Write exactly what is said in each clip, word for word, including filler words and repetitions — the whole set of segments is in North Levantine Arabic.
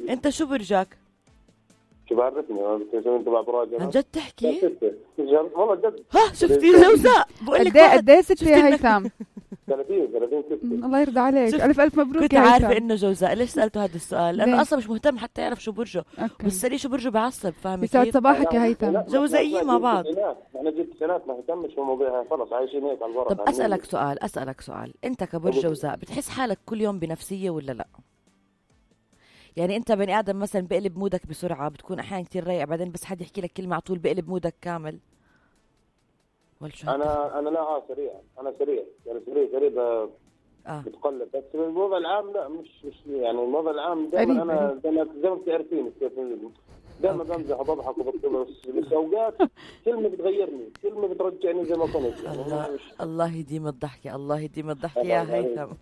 انت شو برجك؟ شو بعرفني انا بتسوي انت بعد راجل عن جد تحكي؟ والله جد. ها شفتي الجوزاء بقول لك قد ايه ستة يا هيثم؟ ثلاثين ثلاثين ستة. الله يرضى عليك، الف الف مبروك. كنت عارفه انه جوزاء. ليش سالته هذا السؤال؟ لانه اصلا مش مهتم حتى يعرف شو برجه. بس سالي شو برجه بعصب. فاهمه كيف؟ يسعد صباحك يا هيثم. جوزائيين مع بعض. احنا جبت سنوات ما اهتمش في الموضوع، خلص عايشين هيك على الورق. طب اسالك سؤال اسالك سؤال انت كبرج جوزاء بتحس حالك كل يوم بنفسيه ولا لا؟ يعني انت بني ادم مثلا بقلب مودك بسرعه، بتكون احيانا كتير رايق بعدين بس حد يحكي لك كلمه على طول بقلب مودك كامل؟ انا انا لا اه سريع، انا سريع يعني سريع سريع ب... آه. بتقلب. بس الوضع العام لا مش مش يعني الوضع العام دائما انا زي ما زي ما بتعرفين دائما بمزح وبضحك وبطلس، بس اوقات كلمه بتغيرني، كلمه بترجعني زي ما كنت يعني. الله, الله يديم الضحكه، الله يديم الضحكه يا هيثم.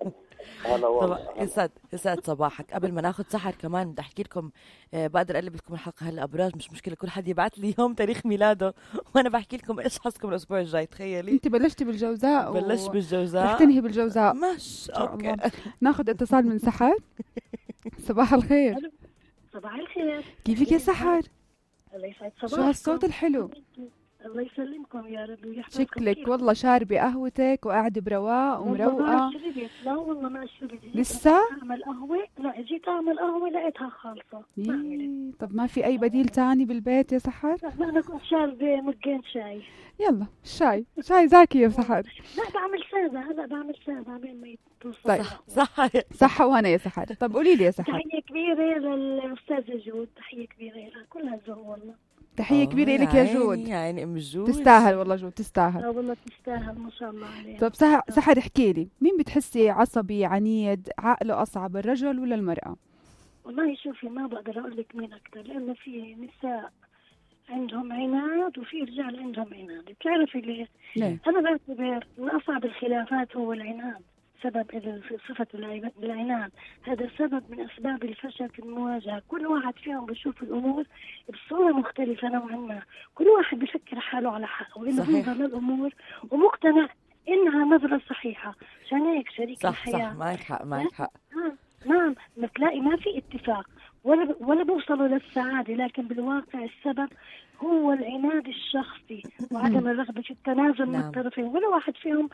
طبعا يسعد يسعد صباحك. قبل ما ناخذ سحر كمان بدي احكي لكم آه بقدر اقلب لكم الحلقه هلا ابراج، مش مشكله كل حد يبعث لي يوم تاريخ ميلاده وانا بحكي لكم ايش حظكم الاسبوع الجاي. تخيلي انت بلشتي بالجوزاء و... بلشت بالجوزاء رح تنهي بالجوزاء. مش اوكي. ناخذ اتصال من سحر. صباح الخير. صباح الخير. كيفك يا سحر؟ الله يسعد صباحكم. شو هالصوت الحلو؟ الله يسلمكم يا رب ويحفظكم. شكلك والله شاربة قهوتك وقاعدة برواق ومروقة. لا والله ما شربت. لسه؟ اعمل قهوة. لا جيت اعمل قهوة لقيتها خالصة. طب ما في اي بديل تاني بالبيت يا سحر؟ لا ما انا كنت شاربة مجين شاي. يلا الشاي شاي زاكي يا سحر. لا بعمل سادة، هلا بعمل سادة بين ما يتوصل. طيب صح صح وانا يا سحر. طب قولي لي يا سحر. تحية كبيرة للأستاذة جود، تحية كبيرة لها كلها ذوق والله. تحية كبيرة لك يا جود. يعني ام جود تستاهل والله جود تستاهل. لا والله تستاهل ما شاء الله عليها. طب سحر احكي لي، مين بتحسي عصبي عنيد عقله أصعب، الرجل ولا المرأة؟ والله شوفي ما بقدر أقول لك مين أكتر، لأنه في نساء عندهم عناد وفي رجال عندهم عناد. بتعرفي ليه؟ ليه؟ أنا بعتبر من أصعب الخلافات هو العناد. سبب صفة العناد هذا سبب من أسباب الفشل في المواجهة. كل واحد فيهم بيشوف الأمور بصورة مختلفة نوعا ما، كل واحد بيفكر حاله على حق وإنه بينظر للأمور ومقتنع إنها نظرة صحيحة. عشان هيك شريك صح الحياة صح معك حق معك حق. نعم بتلاقي ما في اتفاق ولا ولا بوصلوا للسعادة، لكن بالواقع السبب هو العناد الشخصي وعدم الرغبة في التنازل من الطرفين. ولا واحد فيهم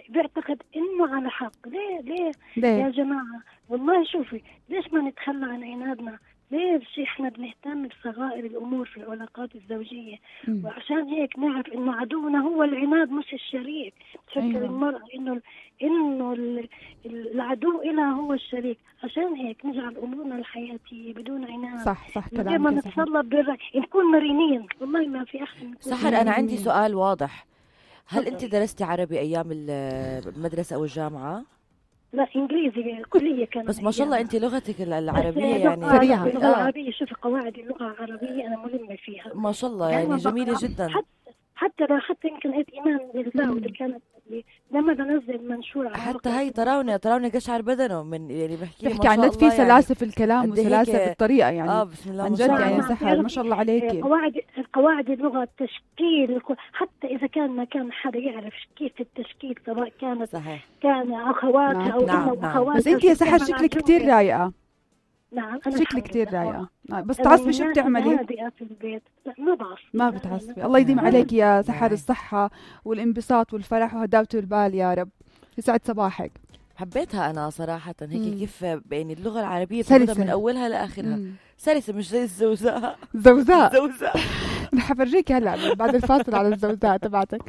بيعتقد إنه على حق. ليه ليه, ليه؟ يا جماعة والله شوفي ليش ما نتخلى عن عنادنا؟ ليش احنا بنهتم بصغائر الامور في العلاقات الزوجيه؟ مم. وعشان هيك نعرف انه عدونا هو العناد مش الشريك. تفكر أيوة. المرأة انه انه العدو إلها هو الشريك. عشان هيك نجعل امورنا الحياتيه بدون عناد. صح صح كلامك. ما نتصلب بالرأي نكون مرنين. والله ما في احسن. سحر انا عندي سؤال واضح. هل انت درستي عربي ايام المدرسه او الجامعه؟ لا انجليزي كليه كانت. بس ما شاء الله انت لغتك العربيه يعني سريعه. اللغه العربيه شوفي قواعد اللغه العربيه انا ملمه فيها ما شاء الله يعني جميله جدا. حتى حتى حتى يمكن قلت ايمان بالله اللي كانت لما بنزل منشور على حتى هي تراونا تراونا قشعر بدنه من يعني بحكي بحكي عن في سلاسه يعني في الكلام وسلاسه بالطريقه يعني. اه بسم الله عن جد يعني سحر ما شاء الله عليكي. قواعد قواعد اللغه التشكيل حتى اذا كان ما كان حدا يعرف كيف التشكيل سواء كانت صحيح. كان اخواتها او نعم. نعم. نعم. بس انت يا سحر شكلك كثير رايقه. نعم شكلك كثير رايقه. بس تعصبي شو بتعملي؟ في البيت. لا ما بعصب. ما بتعصبي. الله يديم عليك يا سحر الصحه والانبساط والفرح وهداوه البال يا رب. يسعد صباحك. حبيتها انا صراحه هيك مم. كيف يعني اللغه العربيه سلسة من اولها لاخرها. مم. سلسه مش زي الزوزاء. زوزاء زوزاء رح افرجيك هلا بعد الفاصل على الزوزاء تبعتك.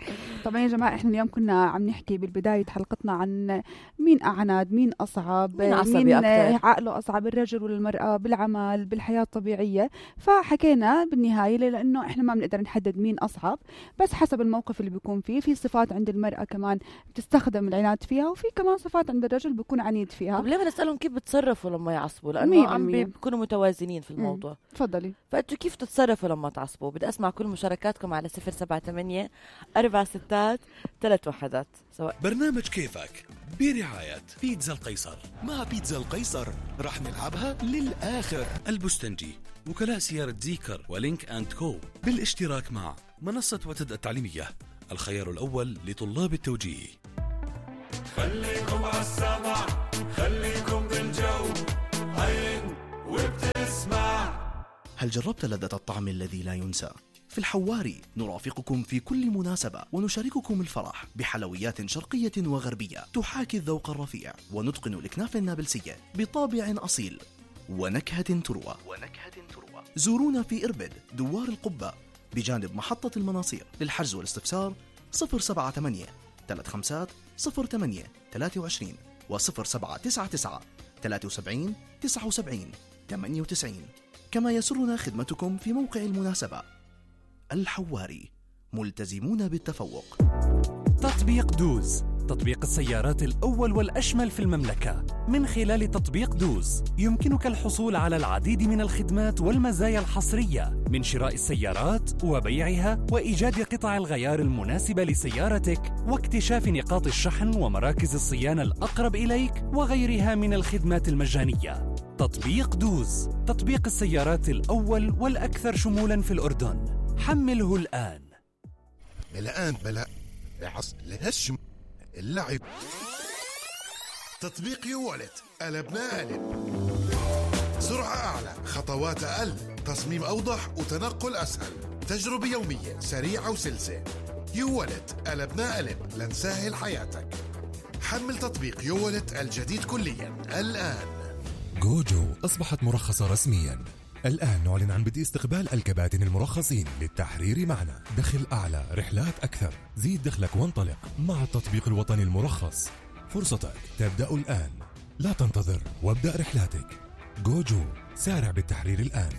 طبعا يا جماعه احنا اليوم كنا عم نحكي بالبدايه حلقتنا عن مين اعناد، مين اصعب، مين, مين أكتر. عقله اصعب، الرجل ولا المراه، بالعمل بالحياه الطبيعيه. فحكينا بالنهايه لانه احنا ما بنقدر نحدد مين اصعب، بس حسب الموقف اللي بيكون فيه. في صفات عند المراه كمان بتستخدم العناد فيها، وفي كمان صفات عند الرجل بيكون عنيد فيها. طب ليه ما نسالهم كيف بتصرفوا لما يعصبوا؟ لانه عم بيكونوا متوازنين في الموضوع. تفضلي. فانتوا كيف تتصرفوا لما تعصبوا؟ بدي اسمع كل مشاركاتكم على صفر سبعة ثمانية أربعة ستات ثلاث وحدات. سواء برنامج كيفك برعاية بيتزا القيصر. مع بيتزا القيصر رح نلعبها للآخر. البستنجي، وكلاء سيارة زيكر ولينك أند كو، بالاشتراك مع منصة وتد التعليمية، الخيار الأول لطلاب التوجيه. خليكم عالسمع، خليكم بالجو، عين وابتسم هل جربت لذة الطعم الذي لا ينسى؟ في الحواري نرافقكم في كل مناسبة ونشارككم الفرح بحلويات شرقية وغربية تحاكي الذوق الرفيع ونتقن الإكناف النابلسية بطابع أصيل ونكهة تروى ونكهة تروى. زورونا في إربد دوار القبة بجانب محطة المناصير. للحجز والاستفسار صفر سبعة ثمانية ثلاثة خمسة صفر ثمانية ثلاثة وعشرين وصفر سبعة تسعة تسعة ثلاثة وسبعين تسعة وسبعين ثمانية وتسعين. كما يسرنا خدمتكم في موقع المناسبة. الحواري، ملتزمون بالتفوق. تطبيق دوز، تطبيق السيارات الأول والأشمل في المملكة. من خلال تطبيق دوز يمكنك الحصول على العديد من الخدمات والمزايا الحصرية من شراء السيارات وبيعها وإيجاد قطع الغيار المناسبة لسيارتك واكتشاف نقاط الشحن ومراكز الصيانة الأقرب إليك وغيرها من الخدمات المجانية. تطبيق دوز، تطبيق السيارات الأول والأكثر شمولاً في الأردن. حمله الآن. الآن بلا عص لهشم اللعب. تطبيق يوالت قلبنا قلب. سرعة أعلى، خطوات أقل، تصميم أوضح وتنقل أسهل، تجربة يومية سريعة وسلسة. يوالت قلبنا قلب لنسهل حياتك. حمل تطبيق يوالت الجديد كليا الآن. جوجو أصبحت مرخصة رسميا. الآن نعلن عن بدء استقبال الكباتن المرخصين للتحرير معنا. دخل أعلى، رحلات أكثر، زيد دخلك وانطلق مع التطبيق الوطني المرخص. فرصتك تبدأ الآن، لا تنتظر وابدأ رحلاتك. جوجو، سارع بالتحرير الآن.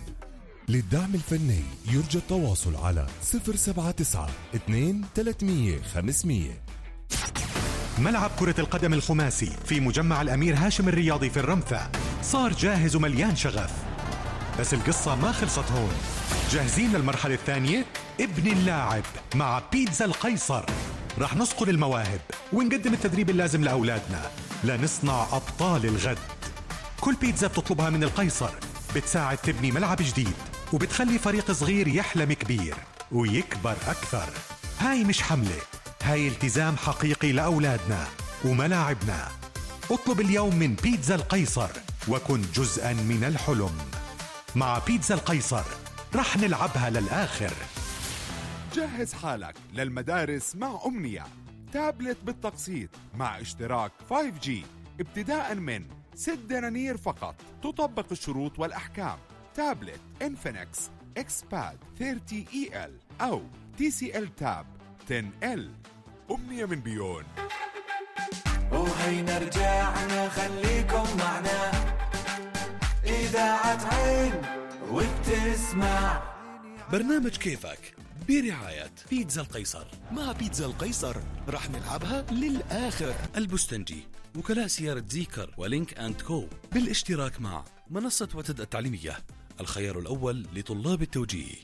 للدعم الفني يرجى التواصل على صفر سبعة تسعة اثنين ثلاثمية خمسمية. ملعب كرة القدم الخماسي في مجمع الأمير هاشم الرياضي في الرمثة صار جاهز ومليان شغف، بس القصة ما خلصت هون. جاهزين للمرحلة الثانية؟ ابن اللاعب مع بيتزا القيصر. رح نصقل المواهب ونقدم التدريب اللازم لأولادنا لنصنع أبطال الغد. كل بيتزا بتطلبها من القيصر بتساعد تبني ملعب جديد وبتخلي فريق صغير يحلم كبير ويكبر أكثر. هاي مش حملة، هاي التزام حقيقي لأولادنا وملاعبنا. اطلب اليوم من بيتزا القيصر وكن جزءا من الحلم. مع بيتزا القيصر رح نلعبها للآخر. جهز حالك للمدارس مع أمنية، تابلت بالتقسيط مع اشتراك فايف جي ابتداء من ست دنانير فقط. تطبق الشروط والأحكام. تابلت إنفينكس إكسباد ثلاثين إي إل أو تي سي إل تاب عشرة إل. أمنية من بيون. وهينا رجعنا، خليكم معنا. إذاعة عين وبتسمع برنامج كيفك برعاية بيتزا القيصر. مع بيتزا القيصر رح نلعبها للآخر. البستنجي، وكلاء سيارة زيكر ولينك أند كو بالاشتراك مع منصة وتد التعليمية، الخيار الأول لطلاب التوجيه.